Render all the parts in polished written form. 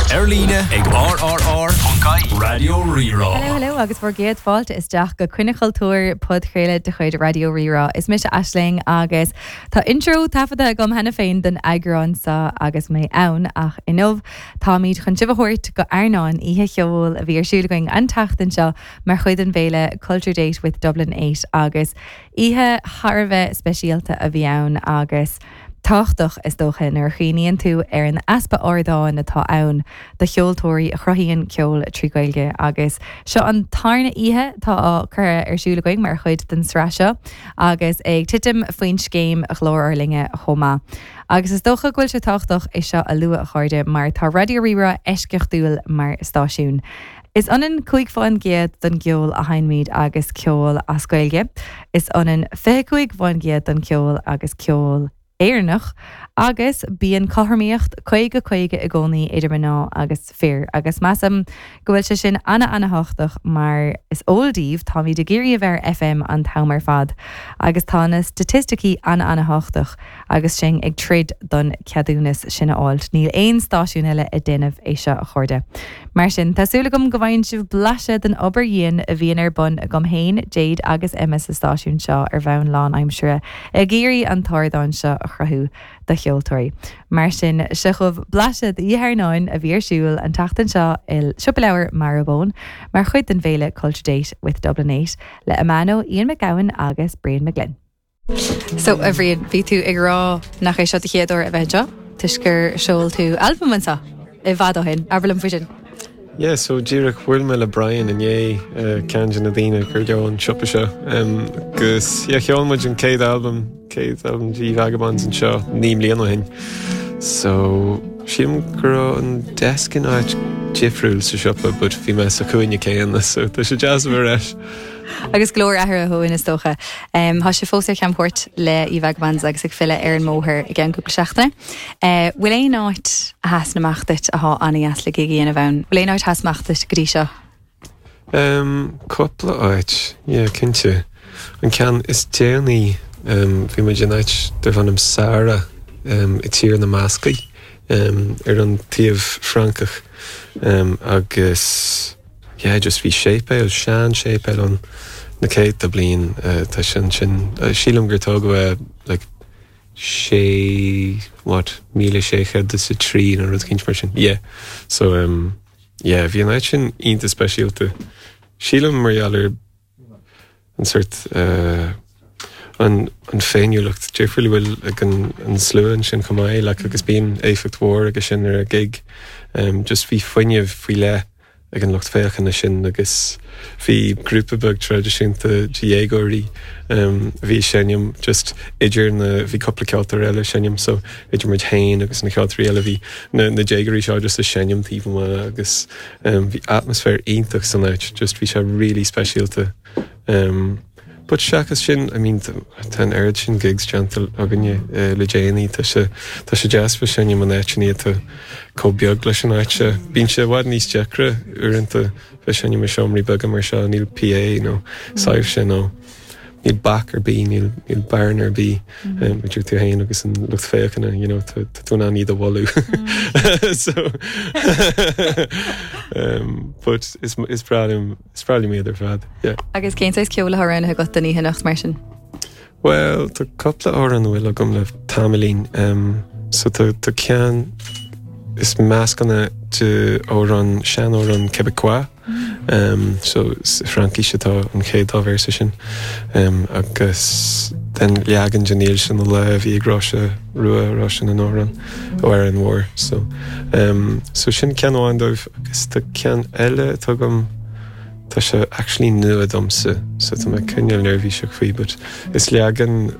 Ar líne ag rrr.ie Raidió Rí-Rá. Hello hello agus bhur gcéad fáilte isteach go Coinne Chultúir, podchraoladh de chuid Raidió Rí-Rá. Is mise Aisling agus tá intro taifeadta agam cheana féin don eagrán seo agus mé ann ach inniu táimid chun sibh a thabhairt go Airneán, oíche cheoil a bhí ar siúl againn an tseachtain seo mar chuid den bhféile Culture Date with Dublin 8 agus oíche thar a bheith speisialta a bhí ann agus tábhachtach, is dócha, nuair a chuimhníonn tú ar an easpa ardáin atá ann do cheoltóirí a chruthaíonn ceol trí Ghaeilge. Agus seo an tarna oíche atá á curtha ar siúl againn mar chuid den sraith seo agus ag titim faoin scéim Ghlór ár Linne chomh maith. Agus is dócha go bhfuil sé tábhachtach é seo a lua, a chairde, mar tá Raidió Rí-Rá eisceachtúil mar stáisiún. Is ionann 5% den gceol a sheinnimid agus ceol as Gaeilge, is ionann 25% den cheol agus ceol Éireannach, agus bíonn cothromaíocht 50 50 i gcónaí idir mná agus fir, agus measaim go bhfuil sé sin ana-ana-thábhachtach mar is eol daoibh, táimid ag iarraidh a bheith ar FM an t-am ar fad agus tá na staitisticí ana-ana-thábhachtach. Agus sinn ag troid don ceadúnas sin a fháilt, níl aon stáisiún eile ag déanamh é seo, a chairde. Mar sin, tá súil agam go bhfaigheann sibh blaiseadh den obair dhian a bhíonn ar bun agam féin, Jade agus Emma sa stáisiún seo ar bhonn lánaimseartha, ag iarraidh an t-ardán seo a chruthú do cheoltóirí. Mar sin, seo chugaibh blaiseadh d'Oíche Airneáin a bhí ar siúl an tseachtain seo i Siopa Leabhar Marrowbone mar chuid den bhféile Culture Date with Dublin 8 le Amano, Ian McGowan agus Brian McGlynn. So, a Bhriain, bhí tú ag rá nach é seo do chéad uair a bheith anseo, toisc gur sheol tú albam anseo i bhfad ó shin. Abair liom faoi sin. Yeah, so díreach bhuail mé le Brian inné, ceann de na daoine gur leo an siopa seo. Agus yeah, sheol muid an chéad albam, chéad albam de Vagabonds anseo 9 mbliana ó shin. So, sílim go raibh an desk in áit difriúil sa siopa, but bhí mé sa chúinne céanna, so tá sé deas a bheith ar ais. Agus go leor athraithe ó shin is dócha. Tá sibh fós ar chamchuairt le Ye Vagabonds agus ag filleadh ar an mbóthar i gceann cúpla seachtaine. Bhfuil aon áit a sheasann amach duit atá an-dheas le gig a dhéanamh ann? Bhfuil aon áit a sheas amach duit go dtí seo? Cúpla áit, yeah, cinnte. An ceann is déanaí, bhí muid in áit darbh ainm Sara i Tír na mBascaigh, ar an taobh Francach, agus Yeah, just bhí séipéal, sean-séipéal ann na céadta bliain, tá sé ansin, sílim gur tógadh é like sé, what, 1603 nó rud eicínt mar sin, yeah. So um, yeah, bhí an áit sin iontach speisialta. Sílim mar gheall ar an sort an an féiniúlacht difriúil a bhfuil ag an an slua ansin chomh maith like agus bíonn éifeacht mhór aige sin ar an gig. Just bhí fuinneamh faoi leith ag an lucht féachana sin agus bhí grúpa beag traidisiúnta de dhéagóirí a bhí ag seinm just idir na bhí cúpla ceoltóir eile ag seinm so idir muid féin agus na ceoltóirí eile bhí na na déagóirí seo just ag seinm taobh amuigh agus Bhí atmaisféar iontach san áit, just bhí sé really speisialta. But seachas sin, I mean, tá an oiread sin gigs déanta againne le déanaí, tá sé, tá sé deas bheith ag seinm in áiteanna atá chomh beag leis an áit seo. Bíonn sé i bhfad níos deacra uaireanta bheith ag seinm i seomraí beaga mar seo, níl PA nó soilse nó níl bac ar bith, níl, níl bearna ar bith idir tú féin agus an lucht féachana, you know, tá tú in ann iad a bhualadh. So, um, but is, is breá liom, is breá liom iad ar fad, yeah. Agus cén saghas ceoil atá roghnaithe agat don oíche anocht mar sin? Well, tá cúpla amhrán a bhfuil agam le tamaillín. Um, so tá, tá ceann is meascán é de amhrán, seanamhrán Québécois, So sa Fhraincis atá an chéad dá véarsa sin. Agus then leagan de Níl sin na lá a bhí ag Róise Rua, Róise na nAmhrán, ó Árainn Mhór. So so sin ceann amháin dóibh agus tá ceann eile atá agam, tá sé actually nua domsa so tá mé cineál neirbhíseach faoi but is leagan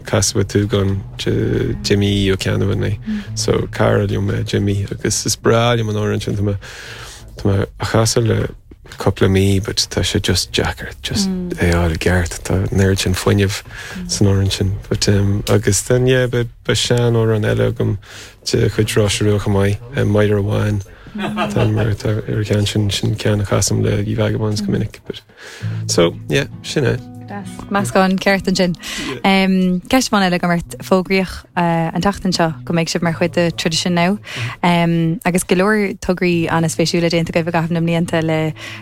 Casadh an tSúgáin de Jimí Ó Ceannabháin é. So cara liom é Jimí agus is breá liom an amhrán sin tá mé Tá mé á chasadh le cúpla mí but tá sé just deacair just é a fháil i gceart. Tá an oiread sin fuinnimh san amhrán sin. But um, agus then yeah, beidh beidh sean-amhrán eile agam de chuid Róise Rua chomh maith, um, Máire Bhán. Tá mar atá ar an cheann sin, sin ceann a chasaim le Ye Vagabonds go minic. But, so yeah, sin é. Meascán ceart ansin. Ceist amháin eile agam ort, fógraíodh an tseachtain seo go mbeidh sibh mar chuid de Tradition Now agus go leor tograí an-spéisiúla déanta agaibh i gcaitheamh na mblianta le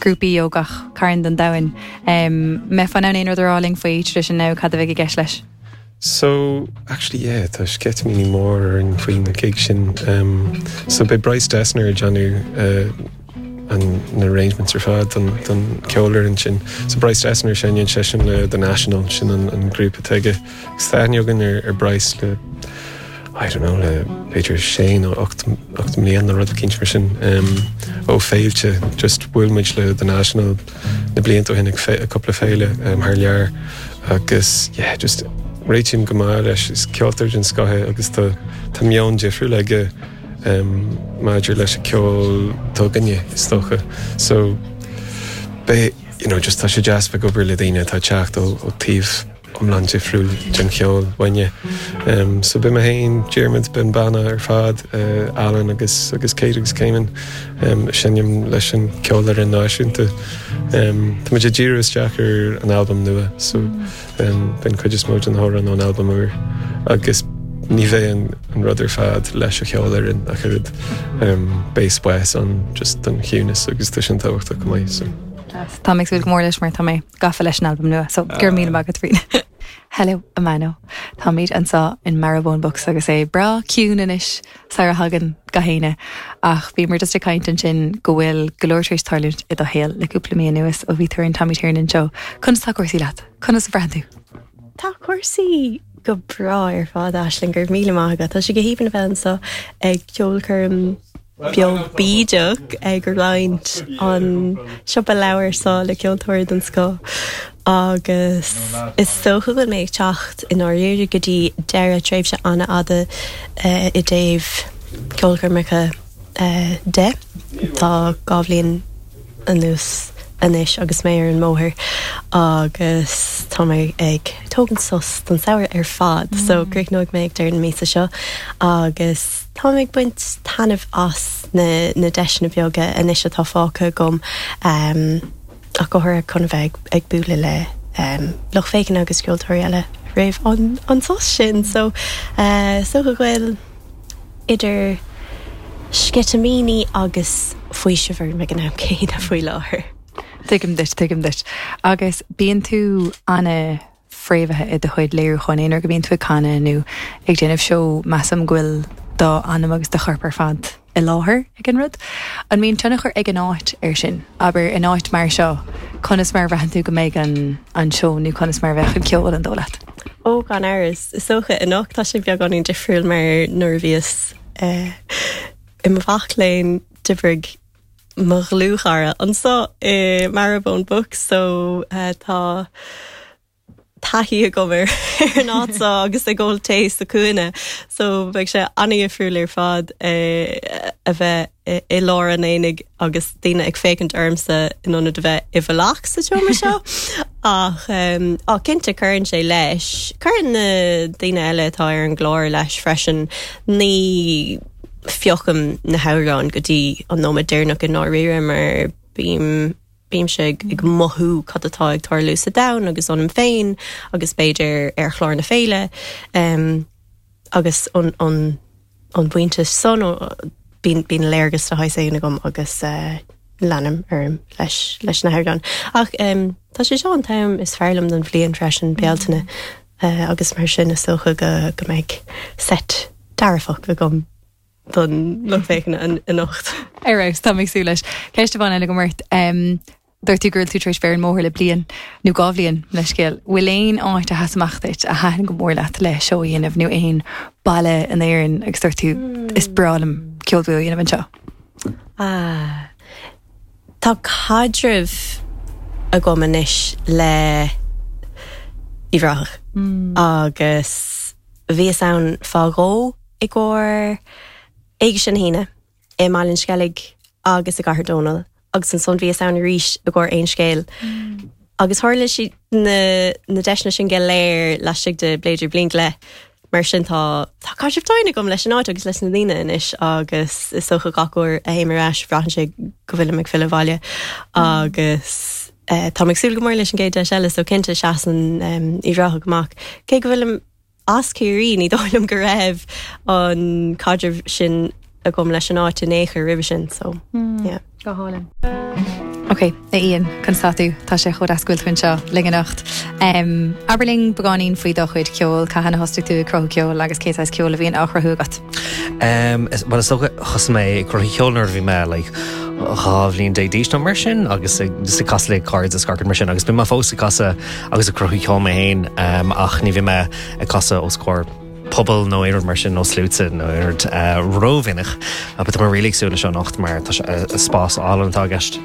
grúpaí ó gach cearn den domhan. Mbeifeá in ann aon rud a rá linn faoi Tradition Now, cad a bheidh i gceist leis? So, actually yeah, tá sceitimíní mór orainn faoi na gig sin. Um, so beidh Bryce Dessner ag déanamh uh, an, na arrangements ar fad don, don ceolfhoireann sin. So Bryce Dessner seinneann seisean le The National, sin an, an grúpa atá aige. Agus tá aithne againn ar, ar Bryce le I don't know, le b'fhéidir sé nó 8 mbliana nó rud eicínt mar sin. Um, ó féilte, just bhuail muid le The National na blianta ó shin ag cúpla féile um, thar lear agus yeah, just réitím go maith leis is ceoltóir den scoth é agus tá tá meon difriúil aige um, maidir leis an ceol atá againne is dócha. So beidh you know, just tá sé deas bheith ag obair le daoine atá ag teacht ó, ó taobh iomlán difriúil den cheol uainne. So beidh mé féin, Diarmuid, beidh an banna ar fad, Alan agus agus Kate agus Caimin ag seinm leis an ceolfhoireann náisiúnta. Tá muid ag díriú isteach ar an albam nua so beidh an cuid is mó de na hamhráin ón albam úr agus ní bheidh an rud ar fad leis an cheolfhoireann ach oiread. Beidh spás ann just don chiúnas agus tá sin tábhachtach go maith so. Tá mé ag súil go mór leis mar tá mé gafa leis an albam nua, so go raibh míle maith agat faoi. Hello, Amano. Táimid anseo in Marrowbone Books agus é breá ciúin anois sara thagann gach éinne. Ach bhíomar just ag caint ansin go bhfuil go leor tar éis tarlúint i do shaol le cúpla mí anuas ó bhí tú ar an Tommy Tiernan Show. Conas tá cúrsaí leat? Conas a bhraitheann tú? Tá cúrsaí go breá ar fad, Aisling, go raibh míle maith agat. Tá sé go haoibhinn a bheith anseo ag ceolchoirm beo bídeach ag roinnt an siopa leabhar seo le ceoltóirí den scoth agus is dócha go bhfuil mé ag teacht i ndáiríre go dtí deireadh tréimhse an-fhada i dtaobh ceolchoirmeacha de. Tá 2 bhliain anuas anois agus mé ar an mbóthar agus tá mé ag tógaint sos don samhradh ar fad so críochnóidh mé ag deireadh na míosa seo agus tá mé ag baint taitneamh as na na deiseanna beaga anois atá fágtha agam ach go háirithe chun a bheith ag bualadh le lucht féachana agus ceoltóirí eile roimh an an sos sin so is dócha go bhfuil idir sceitimíní agus faoiseamh orm ag an am céanna faoi láthair. Tuigim duit, tuigim duit. Agus bíonn tú ana-fhréamhaithe i do chuid léiriúcháin, aon uair go mbíonn tú ag canadh nó ag déanamh seó, measaim go bhfuil d'anam agus do chorp ar fad i láthair ag an rud. An mbíonn tionchar ag an áit air sin? Abair, in áit mar seo, conas mar a bhraitheann tú go mbeidh an an seó nó conas mar a bheadh an ceol an dóigh leat? Ó, gan amhras. Is dócha anocht tá sé beagáinín difriúil mar nuair a bhíos i mo mhac léinn d'oibrigh mo dhlúthchara anseo i Marrowbone Books so tá taithí agam ar an áit seo agus ag ól tae sa chúinne so beidh sé an-dhifriúil ar fad a bheith i lár an aonaigh agus daoine ag féachaint ormsa in ionad a bheith i bhfolach sa tseomra seo. Ach á cinnte cuireann sé leis. Cuireann na daoine eile atá ar an gclár leis freisin. Ní phiocaim na hamhráin go dtí an nóiméad deireanach i ndáiríre mar bím bímse ag mothú cad atá ag tarlú sa domhan agus ionam féin agus b'fhéidir ar chlár na féile agus an an an bpointe san bíonn bíonn léargas de shaghas éigin agam agus leanaim orm leis leis na hamhráin. Ach tá sé seo an t-am is fearr liom den bhliain freisin, Bealtaine, agus mar sin is dócha go go mbeidh seit dearfach agam. don lucht féachana anocht. Ar fheabhas, tá mé ag súil leis. Ceist amháin eile agam ort. Dúirt tú go raibh tú tar éis bheith ar an mbóthar le bliain, nó 2 bhliain, leithscéal. Bhfuil aon áit a sheas amach duit, a thaitin go mór leat le seó a dhéanamh, nó aon baile in Éirinn agus dúirt tú, is breá liom ceol beo a dhéanamh anseo? Ah, tá caidreamh agam anois le Uíbh Ráthach agus bhíos ann fá dhó i gcomhair Éigse na hAoine i mBaile an Sceilg agus i gCathair Dónall agus ansan bhíos ann arís i gcomhair Aon Scéal. Agus tharla siad na na deiseanna sin go léir laistigh de b'fhéidir bliain go leith. Mar sin tá tá caidreamh domhain agam leis an áit agus leis na daoine anois agus is dócha gach uair a théim ar ais braitheann sé go bhfuilim ag filleadh abhaile agus. Táim ag súil go mór leis an gcéad deis eile so cinnte seasann Uíbh Ráthach amach. Cé go bhfuilim as Ciarraí ní dóigh liom go raibh an caidreamh sin agam leis an áit in aon chor roimhe sin so yeah. Go hálainn. Ok, a Ian, conas tá tú? Tá sé chomh deas go bhfuil tú anseo linn anocht. Um, abair linn beagáinín faoi do chuid ceoil, cathain a thosaigh tú ag cruthú ceoil agus cé saghas ceoil a bhíonn á chruthú agat? Um, is, well, is dócha thosaigh mé ag cruthú ceoil nuair a bhí mé like, 12 bhliain d'aois nó mar sin agus ag, just ag casadh le cairde is gach rud mar sin agus bím fós ag casadh agus ag cruthú ceoil mé féin um, ach ní bhím ag casadh os comhair pobal nó aon rud mar sin nó sluaite nó aon rud uh, rómhinic but tá mé really ag súil leis seo anocht mar tá sé uh, spás álainn atá i gceist.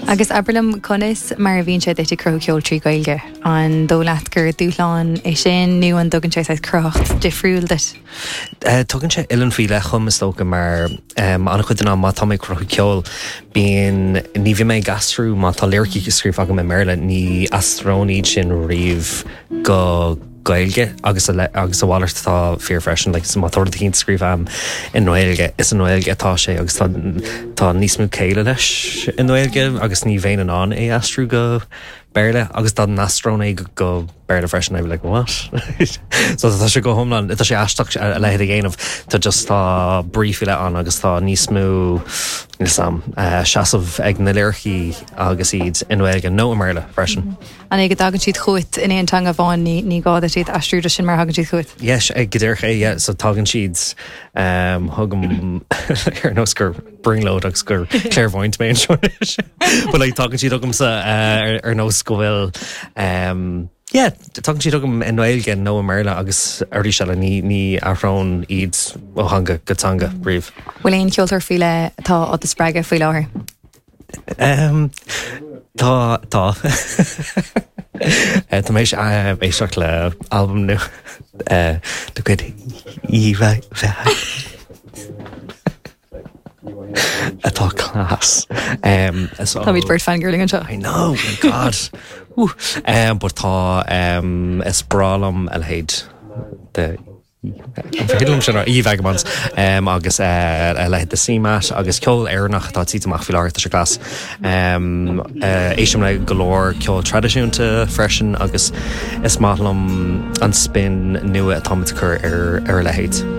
Agus abair liom conas mar a bhíonn sé duit ag cruthú ceoil trí Ghaeilge? An dóigh leat gur dúshlán é sin nó an dtugann sé saghas cruthaitheacht difriúil duit? Tugann sé uillinn faoi leith dhom is dócha mar an-chuid den am má tá mé ag cruthú ceoil bíonn, ní bhím ag aistriú, má tá liricí scríofa agam i mBéarla ní aistreoinn iad sin riamh go Gaeilge agus a agus a mhalairt atá fíor freisin like má tá rud eicínt scríofa agam i nGaeilge is i nGaeilge atá sé agus tá tá níos mó céille leis i nGaeilge agus ní bheinn in ann é aistriú go Béarla agus dá n-aistreoinn é go Béarla freisin I'd be like what? So tá sé go hiomlán, tá sé aisteach a leithéid a dhéanamh, tá just tá brí faoi leith ann agus tá níos mó níl 'fhios a'm, seasamh ag na liricí agus iad i nGaeilge nó i mBéarla freisin. An é go dtagann siad chugat in aon teanga amháin, ní ní gá duit iad a aistriú just sin mar a thagann siad chugat? Yes, go díreach é, yeah, so tagann siad chugam ar nós gur brionglóid agus gur clairvoyant mé anseo anois. But like tagann siad chugamsa uh, ar, ar nós go bhfuil um, yeah, tagann siad chugam i nGaeilge nó i mBéarla agus arís eile ní, ní athróinn iad ó theanga go teanga riamh. Bhfuil aon cheoltóir faoi leith atá á do spreagadh faoi láthair? Um, tá, tá. Eh, tá mé théis éisteacht le albam nua eh, de chuid Eva atá class. Um, so, Táimid beirt fangirling anseo. I know, my God. Woo. Um, but tá um, is breá liom a leithéid de an féidir liom sin a rá? Ye Vagabonds um, agus uh, a leithéid de CMAT agus ceol Éireannach atá ag titim amach faoi láthair tá sé class. Um, uh, éistim le go leor ceol traidisiúnta freisin agus is maith liom an spin nua atáimid ag cur ar, ar a leithéid.